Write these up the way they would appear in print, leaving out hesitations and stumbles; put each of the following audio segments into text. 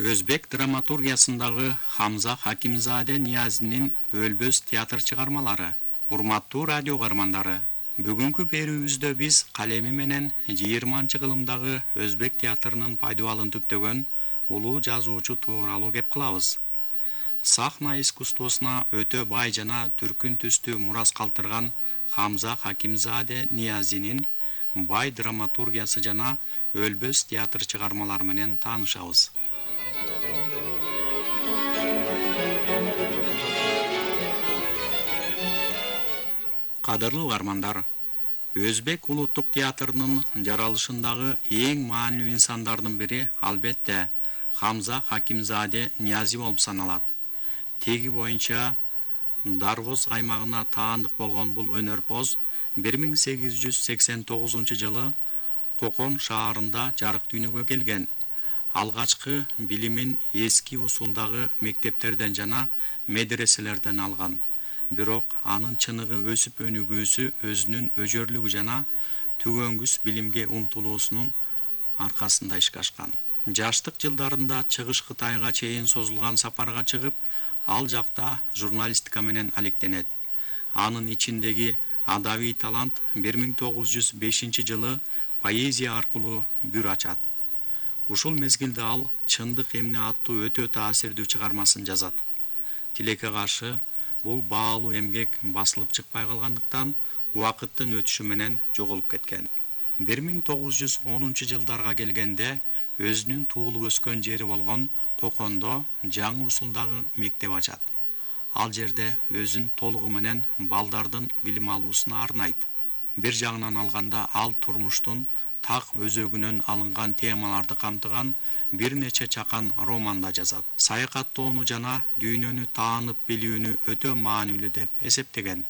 Өзбек драматургиясындагы Хамза Хакимзаде Ниязинин Өлбөс театр чыгармалары. Урматтуу радио каармандары, бүгүнкү берүүбүздө биз калеми менен 20-кылымдагы өзбек театрынын пайдубалын түптөгөн улуу жазуучу тууралуу кеп кылабыз. Сахна искусствосуна өтө бай жана түркүн түстүү мурас калтырган Хамза Хакимзаде Ниязинин бай драматургиясы жана Өлбөс театр чыгармалары менен таанышабыз. Кадырлуу каармандар, Өзбек улуттук театрынын жаралышындагы эң маанилүү инсандардын бири албетте Хамза Хакимзаде Ниязи болуп саналат. Теги боюнча Дарвоз аймагына таандык болгон бул өнөрпоз 1889-жылы Кокон шаарында жарык дүйнөгө келген. Алгачкы билимин эски усулдагы мектептерден жана медреселерден алган. Бирок анын чыныгы өсүп өнүгүүсү өзүнүн өжөрлүгү жана түгөнгүс билимге умтулуусунун аркасында ишке ашкан. Жаштык жылдарында Чыгыш Кытайга чейин созулган сапарга чыгып, ал жакта журналистика менен алектенет. Анын ичиндеги адабий талант 1905-жылы поэзия аркылуу бүр ачат. Ушул мезгилде ал Чындык эмне аттуу өтө таасирдүү чыгармасын жазат. Тилекке каршы бул баалуу эмгек басылып чыкпай калгандыктан убакыттын өтүшү менен жоголуп кеткен. 1910-жылдарга келгенде өзүнүн туулуп өскөн жери болгон Кокондо жаңы усулдагы мектеп ачат. Ал жерде өзүн толугу менен балдардын билим алуусуна арнайт. Бир жагынан алганда ал турмуштун так өзөгүнөн алынган темаларды камтыган бир нече чакан романда жазат. Саякаттоону жана дүйнөнү таанып билүүнү өтө маанилүү деп эсептеген.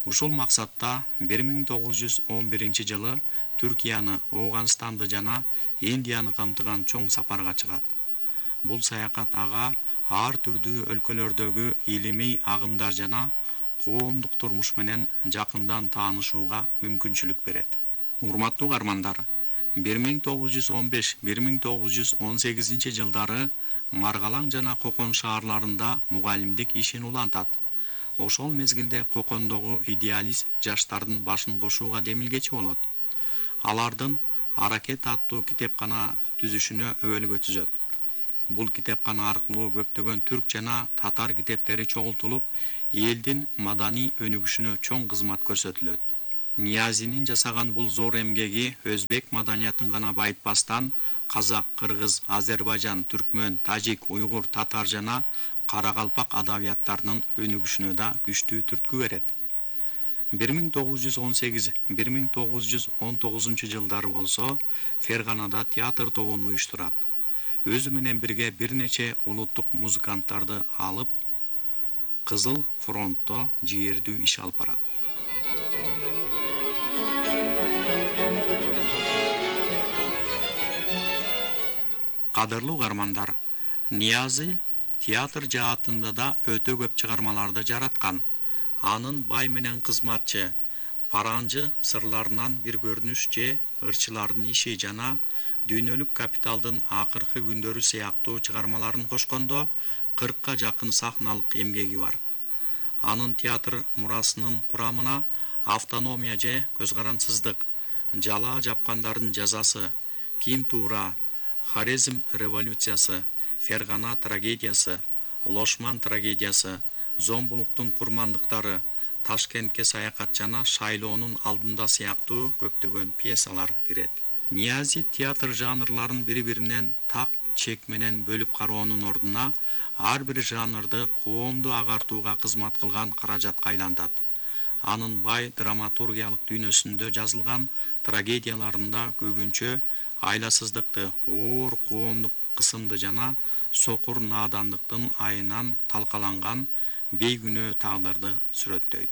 Ушул максатта 1911-жылы Түркияны, Ооганстанды жана Индияны камтыган чоң сапарга чыгат. Бул саякат ага ар түрдүү өлкөлөрдөгү илимий агымдар жана коомдук турмуш менен жакындан таанышууга мүмкүнчүлүк берет. Урматтуу каармандар, 1915-1918 жылдары Маргалаң жана Кокон шаарларында мугалимдик ишин улантат. Ошол мезгилде Кокондогу идеалист жаштардын башын кошууга демилгечи болот. Алардын Аракет аттуу китепкана түзүшүнө өбөлгө түзөт. Бул китепкана аркылуу көптөгөн түрк жана татар китептери чогултулуп, элдин маданий өнүгүшүнө чоң кызмат көрсөтүлөт. Ниязинин жасаган бул зор эмгеги өзбек маданиятын гана байытпастан, казак, кыргыз, азербайжан, түркмөн, тажик, уйгур, татар жана каракалпак адабияттарынын өнүгүшүнө да күчтүү түрткү берет. 1918-1919 жылдары болсо Ферганада театр тобун уюштурат. Өзү менен бирге бир нече улуттук музыканттарды алып, Кызыл фронтто жийердүү иш алып барат. Кадырлуу каармандар, Ниязи театр жаатында да өтө көп чыгармаларды жараткан. Анын Бай менен кызматчы, Паранжы сырларынан бир көрүнүш же ырчылардын иши жана Дүйнөлүк капиталдын акыркы күндөрү сыяктуу чыгармаларын кошкондо 40-ка жакын сахналык эмгеги бар. Анын театр мурасынын курамына Автономия же көз карансыздык, Жала жапкандардын жазасы, Ким туура, Хорезм революциясы, Фергана трагедиясы, Лошман трагедиясы, Зомбулуктун курмандыктары, Ташкентке саякат жана Шайлоонун алдында сыяктуу көптөгөн пьесалар кирет. Ниязи театр жанрларын бири-биринен так чек менен бөлүп кароонун ордуна ар бир жанрды коомду агартууга кызмат кылган каражатка айлантат. Анын бай драматургиялык дүйнөсүндө жазылган трагедияларында көбүнчө айласыздыкты, оор коомдук кысымды жана сокур наадандыктын айынан талкаланган бейкүнөө тагдырды сүрөттөйт.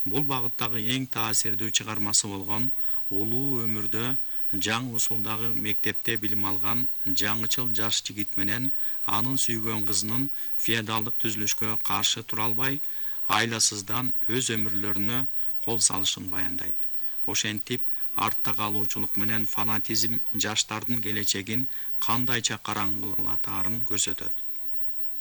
Бул багыттагы эң таасирдүү чыгармасы болгон улуу өмүрдө жаңы усулдагы мектепте билим алган жаңычыл жаш жигит менен анын сүйгөн кызынын феодалдык түзүлүшкө каршы тура албай, айласыздан өз өмүрлөрүнө кол салышын баяндайт. Ошентип, артта калуучулук менен фанатизм жаштардын келечегин кандайча караңгылатаарын көрсөтөт.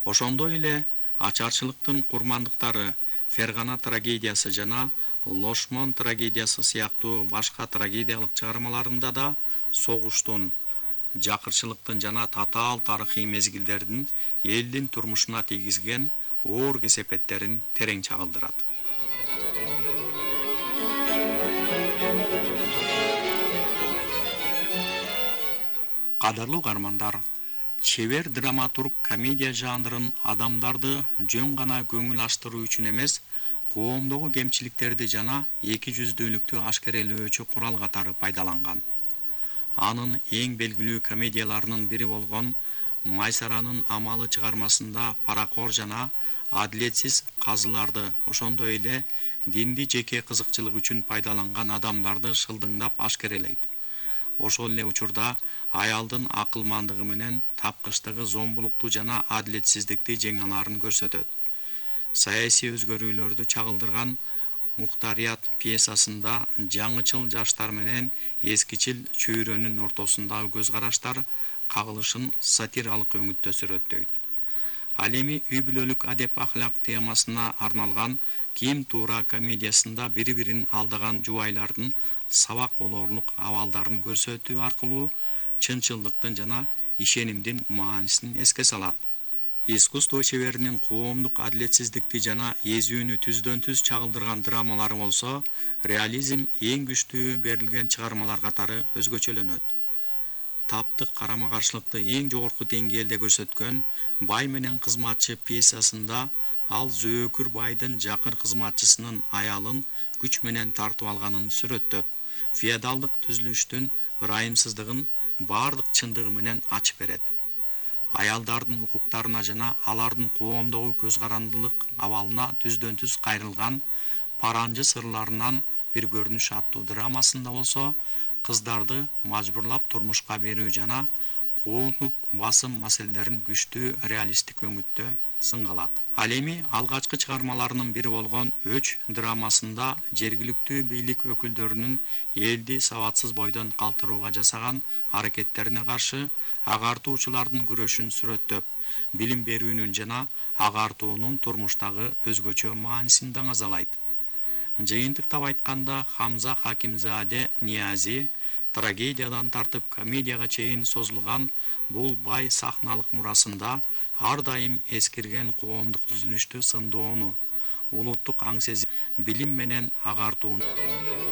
Ошондой эле ачарчылыктын курмандыктары Фергана трагедиясы жана Лошмон трагедиясы сыяктуу башка трагедиялык чыгармаларында да согуштун, жакырчылыктын жана татаал тарыхый мезгилдердин элдин турмушуна тийгизген оор кесепеттерин терең чагылдырат. Кадырлуу угармандар, чебер драматург комедия жанрын адамдарды жөн гана көңүл ачтыруу үчүн эмес, коомдогу кемчиликтерди жана эки жүздүүлүктү ашкерелөөчү курал катары пайдаланган. Анын эң белгилүү комедияларынын бири болгон Майсаранын амалы чыгармасында паракор жана адилетсиз казыларды, ошондой эле динди жеке кызыкчылык үчүн пайдаланган адамдарды шылдыңдап ашкерелейт. Ошол эле учурда аялдын акылмандыгы менен тапкычтыгы зомбулукту жана адилетсиздикти жеңе алаарын көрсөтөт. Саясий өзгөрүүлөрдү чагылдырган Мухтарият пьесасында жаңычыл жаштар менен эскичил чөйрөнүн ортосундагы көз караштар кагылышын сатиралык өңүттө сүрөттөйт. Ал эми үй бүлөлүк адеп ахлак темасына арналган Ким туура комедиясында бири-бирин алдаган жубайлардын сабак болорлук абалдарын көрсөтүү аркылуу чынчылдыктын жана ишенимдин маанисин эске салат. Искусство чеберинин коомдук адилетсиздикти жана эзүүнү түздөн-түз чагылдырган драмалары болсо, реализм эң күчтүү берилген чыгармалар катары өзгөчөлөнөт. Таптык карама-каршылыкты эң жогорку деңгээлде көрсөткөн Бай менен кызматчы пьесасында ал зөөкүр байдын жакын кызматчысынын аялын күч менен тартып алганын сүрөттөп, феодалдык түзүлүштүн ырайымсыздыгын баардык чындыгы менен ачып берет. Аялдардын укуктарына жана алардын коомдогу көз карандылык абалына түздөн-түз кайрылган Паранжы сырларынан бир көрүнүш аттуу драмасында болсо, кыздарды мажбурлап турмушка берүү жана коомдук басым маселелерин күчтүү реалисттик өңүттө сынгалат. Ал эми алгачкы чыгармаларынын бири болгон Өч драмасында жергиликтүү бийлик өкүлдөрүнүн элди сабатсыз бойдон калтырууга жасаган аракеттерине каршы агартуучулардын күрөшүн сүрөттөп, билим берүүнүн жана агартуунун турмуштагы өзгөчө маанисин даңазалайт. Жыйынтыктап айтканда, Хамза Хакимзаде Ниязи трагедиядан тартып комедияга чейин созулган бул бай сахналык мурасында ар дайым эскирген коомдук түзүлүштү сындоону, улуттук аң сезим, билим менен агартууну